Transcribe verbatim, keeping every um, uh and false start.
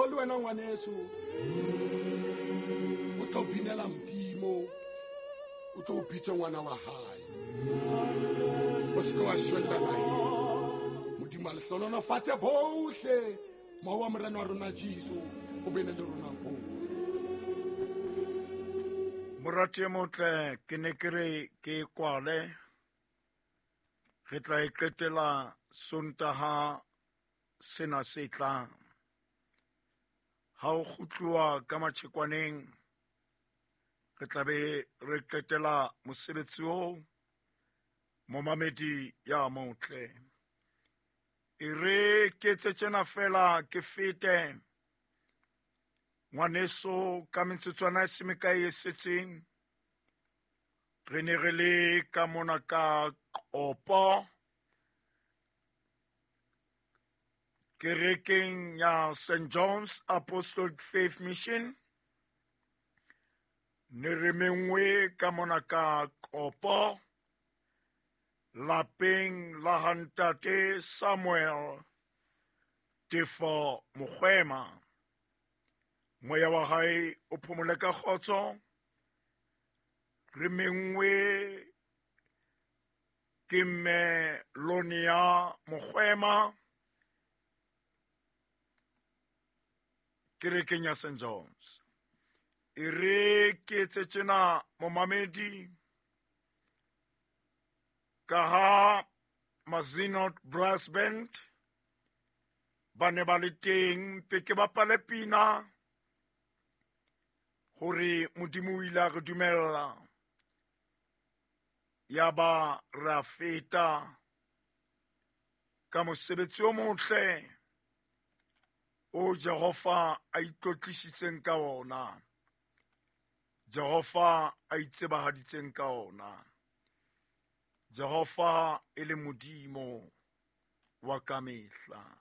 Tlo le wena ngwaneso, o tlo binela Modimo, o tlo bitse ngwana wa hae. O se ke wa shwella naheng. Modimo a le hlohonolofatse bohle. Moya wa Morena wa rona Jesu o bene le rona bohle. Morati e motle, ke ne ke re ke kwale. Re tla e qetela Sontaha sena se tlang. Ha o kgutluwa ka matjhekwaneng, re tla be re qetela mosebetsi oo, momamedi ya motle. E re ke etse tjena feela ke fete. Ngwaneso, ka metsotswana e se mekae e setseng, re ne re le ka mona ka Qopo, kerekeng ya Saint John's Apostolic Faith Mission. Ne re mengwe ka mona ka Qopo, lapeng la ha ntate Samuel Tefo Mokgwema. Moya wa hae o phomole ka kgotso. Re mengwe ke mme Lonia Mokgwema kerekeng ya Saint John's. E re ke etse tjena momamedi, ka ha Mazinot Brass Band ba ne ba le teng, mpe ke bapale pina hore Modimo o ile a re dumella. Ya ba re a feta ka mosebetsi o motle o Jehova a itlotlisitseng ka ona, Jehova a itsebahaditseng ka ona, Jehova e le Modimo wa kamehla.